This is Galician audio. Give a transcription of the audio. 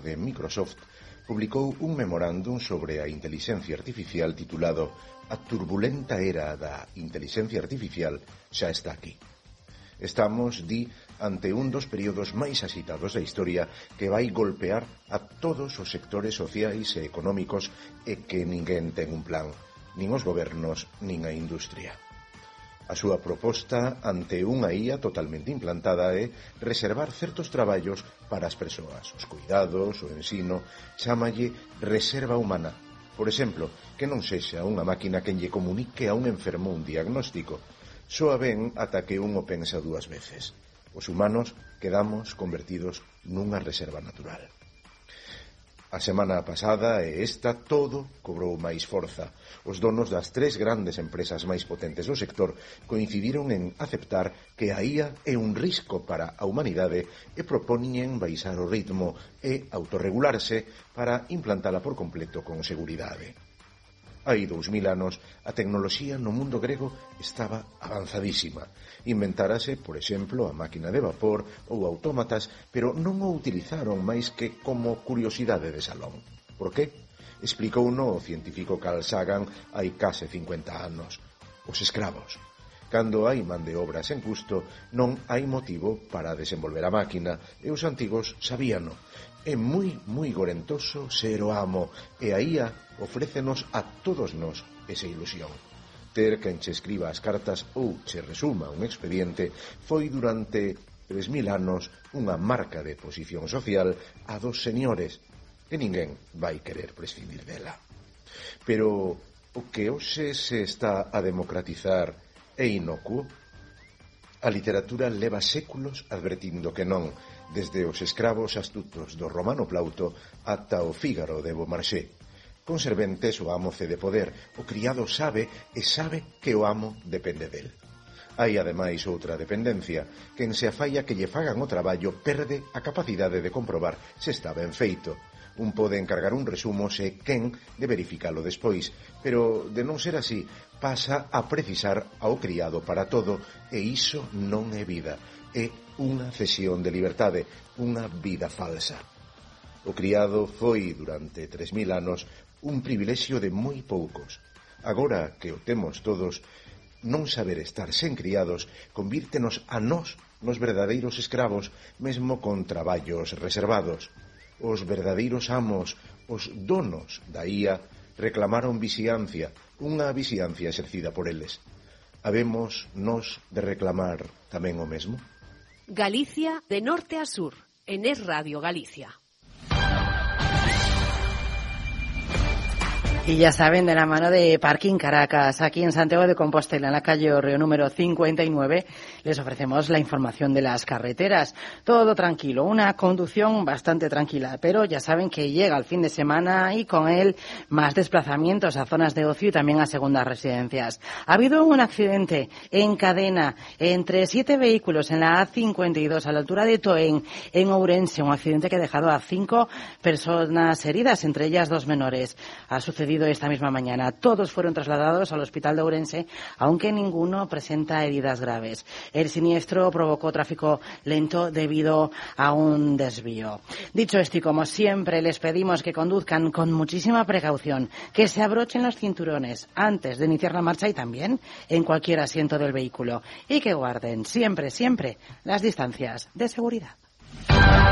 de Microsoft publicou un memorándum sobre a intelixencia artificial titulado "A turbulenta era da intelixencia artificial xa está aquí". Estamos, di, ante un dos períodos máis axitados da historia que vai golpear a todos os sectores sociais e económicos e que ninguén ten un plan, nin os gobernos, nin a industria. A súa proposta ante unha IA totalmente implantada é reservar certos traballos para as persoas. Os cuidados, o ensino, chámalle reserva humana. Por exemplo, que non sexa unha máquina quen lle comunique a un enfermo un diagnóstico. Soa ben ata que un o pensa dúas veces. Os humanos quedamos convertidos nunha reserva natural. A semana pasada e esta todo cobrou máis forza. Os donos das 3 grandes empresas máis potentes do sector coincidiron en aceptar que a IA é un risco para a humanidade e propoñen baixar o ritmo e autorregularse para implantala por completo con seguridade. Hai 2000 anos, a tecnoloxía no mundo grego estaba avanzadísima. Inventárase, por exemplo, a máquina de vapor ou autómatas, pero non o utilizaron máis que como curiosidade de salón. Por qué? Explicouno o científico Carl Sagan hai case 50 anos. Os escravos. Cando hai man de obra sen custo, non hai motivo para desenvolver a máquina, e os antigos sabíano. É moi gorentoso ser o amo, e a IA ofrécenos a todos nós esa ilusión. Ter quen che escriba as cartas ou che resuma un expediente foi durante 3000 anos unha marca de posición social a dos señores, e ninguén vai querer prescindir dela. Pero o que hoxe se está a democratizar é inocuo? A literatura leva séculos advertindo que non, desde os escravos astutos do Romano Plauto ata o Fígaro de Beaumarchais. Con serventes o amo cede poder, o criado sabe e sabe que o amo depende del. Hai ademais outra dependencia, quen se afalla que lle fagan o traballo perde a capacidade de comprobar se está ben feito. Un pode encargar un resumo se quen de verificalo despois, pero de non ser así, pasa a precisar ao criado para todo, e iso non é vida, é unha cesión de liberdade, unha vida falsa. O criado foi, durante 3000 anos, un privilexio de moi poucos. Agora que o temos todos, non saber estar sen criados convírtenos a nós nos verdadeiros escravos, mesmo con traballos reservados. Os verdadeiros amos, os donos da IA, reclamaron vixiancia, unha vixiancia exercida por eles. Habemos nós de reclamar tamén o mesmo? Galicia de norte a sur, en Es Radio Galicia. Y ya saben, de la mano de Parking Caracas, aquí en Santiago de Compostela, en la calle Orreo número 59, les ofrecemos la información de las carreteras. Todo tranquilo, una conducción bastante tranquila, pero ya saben que llega el fin de semana y con él más desplazamientos a zonas de ocio y también a segundas residencias. Ha habido un accidente en cadena entre 7 vehículos en la A52 a la altura de Toén, en Ourense, un accidente que ha dejado a 5 personas heridas, entre ellas 2 menores. Ha sucedido esta misma mañana. Todos fueron trasladados al hospital de Ourense, aunque ninguno presenta heridas graves. El siniestro provocó tráfico lento debido a un desvío. Dicho esto, y como siempre, les pedimos que conduzcan con muchísima precaución, que se abrochen los cinturones antes de iniciar la marcha y también en cualquier asiento del vehículo, y que guarden siempre las distancias de seguridad.